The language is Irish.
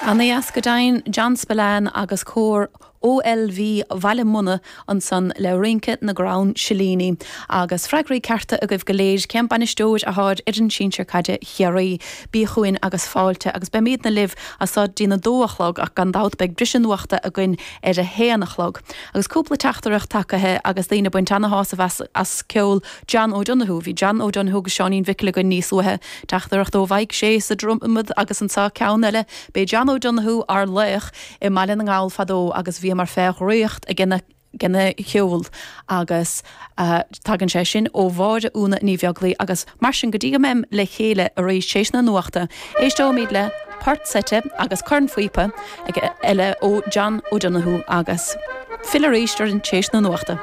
Ana-dheas go deimhin, John Spillane agus cór OLV Bhaile Munna ansan le Rince na gCrann Silíní. Agus freagraí cearta agaibh go léir, cén bainisteoir athá ar fhoireann sinsir caide Chiarraí? Bí chugainn agus fáilte agus beimídne libh as so dtí'n 2 a chlog ach gan dabht beidh briseadh nuachta againn ar a haon a chlog. Agus cúpla teachtaireacht tagaithe agus daoine ag baint ana-shásamh as ceol John O'Donoghue. Bhí John O'Donoghue agus Seáinín Mhicil againn níos luaithe. Teachtaireacht ó Mhaidhc Sé sa Dromad agus anseo ceann eile. B'é John O'Donoghue ár laoch i mBaile na nGall fadó agus bhíomar fé dhraíocht aige gena cheol agus tagann sé sin ó Mháire Úna Ní Bheaglaoi agus mar sin go dtí go mbeim le chéile arís tar éis na nuachta, éisteoimid le port seite agus cornphíopa eile ó John O'Donoghue agus fill arís orainn tar éis na nuachta.